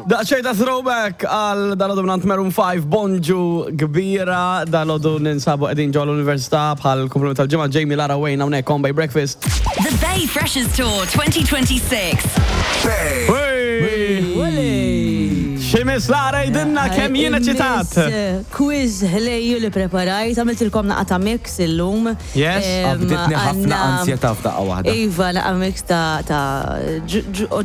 Daqsxejn ta' throwback għal dalodu minn Maroon 5, bonġu kbira, dalodu ninsabu qegħdin ġol università bħal kumplament tal-ġimgħa Jamie Lara Wayne hawnhekk on Bay Breakfast. The Bay Freshers Tour 2026. Ximis Lara jidinna kemm jien eċitat. Quiz ħlejju li preparajt, għamiltilkom naqa ta' mix illum. Yes. Qabditni ħafna ansjetà f'daqqa waħda. Iva, naqa mix ta' ta'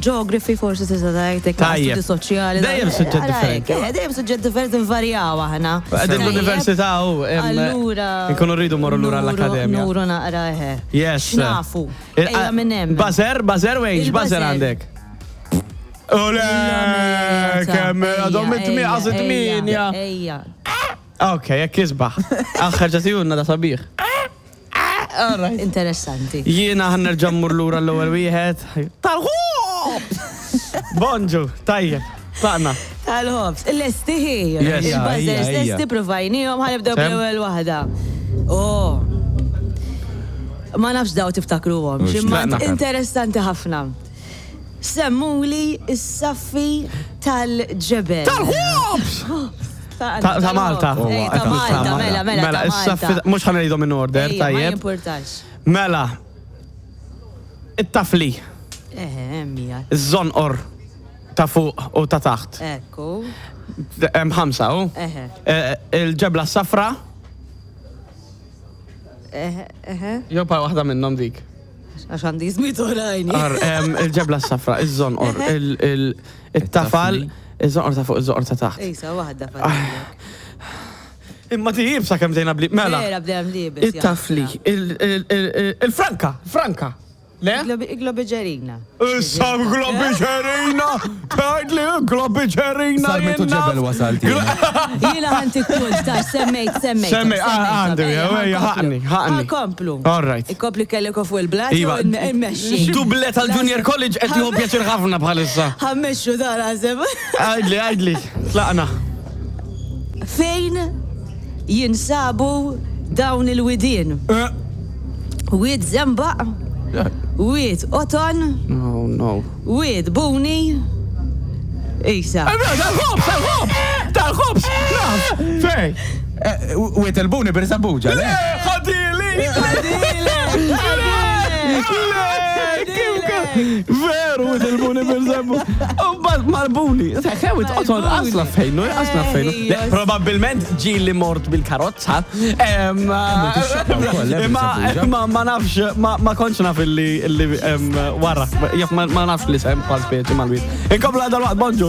geography forsi tista' tgħid hekk Tajjeb. studi soċjali. Dejjem suġġett differenti. Eh, Dejjem suġġett differenti nvarjaw aħna. Qegħdin l-università u Allura. nkunu rridu morru lura nuru- l-akkademja. Nuru naqra eħe. Yes. X'nafu. Ejja minn hemm. Bazer, bazer wejn, x'bazer Il-buzzer. għandek? Ole, kemm għadhom it-tmieqa it-tminja. Ejja. Ok, jekk isbaħ. Aħħar ġatijunna da sabiħ. All right. Interessanti. Jiena ħa nerġa' mmur lura l-ewwel wieħed. Tal-ħobż! Bonġu, tajjeb, tlaqna. Tal-ħobż. Lesti hi. Yes. Il-buzzers Ejja, ejja. lesti provajnihom ħa nibdew Sem? bl-ewwel waħda. Oh. Ma nafx daw tiftakruhom, Mhux imma tlaqna. interessanti ħafna. Semmuli s-saffi tal-ġebel. Tal-ħobż! Ta' Ta' Malta. Ej, ta' Malta, mela, mela, Mela, ta' is-saffi, Malta. mhux ħa ngħidhom in order, Ejja, ma tajjeb. jimpurtax. Mela, it-tafli, Eħe, hemmija. iż-żonqor ta' fuq u ta' taħt. Ekku. Hemm ħamsa, u? Eħe. Eh, Il-ġebla s-safra, Eħe, eħe. jew pa waħda minnhom dik. Għax għandi żmit oħrajn. Ar, em, Il-ġebla s-safra, iż-żonqor, il- il- it-tafal, iż-żonqor ta' fuq, iż-żonqor ta' taħt. Ejsa, waħda fadlek. Imma ti jibsa kemm dejna bli. Mela. Vera bdejna bliebes. It-tafli, il- il- il- il-franka, franka. Le? Globiġerina. Issa globiġerina! Tgħidli globiġerina! Sarmitu ġebel wasalt jiena. Jiena ħanti kull ta' semmejt, semmejt. Semmejt, ah, għandi, ejja, ħaqni, ħaqni. Komplu. All right. Ikompli kellek fuq il-blat Iva. u nmexxi. Duble tal-Junior College qed jieħu pjaċir ħafna bħalissa. Ħammexxu dar għazem. Għajdli, għajdli, tlaqna. Fejn jinsabu dawn il-widien? Eh. Wied Zembaq, Wied Oton, No, no. Wied Buni, Isa. Tal-ħobs, tal-ħobs! Tal-ħobs! Naf! Fej! Eh, Wiet il-buni bir Sambuġa, le? Ħadili! Ħadili! Veru, wiet il-buni bil-żemmu. Mal-buni. Ħewit, oton, asla fejnu, asla fejnu. Le, Probabilment ġili mort bil-karozza. Em, wkoll, eh, Imma bil-Sambuġa. imma ma nafx, ma ma kontx naf illi illi, em, wara. Jaf ma ma nafx li sem bħal speċi mal-wit. Inkomplu għadal waqt, bonġu.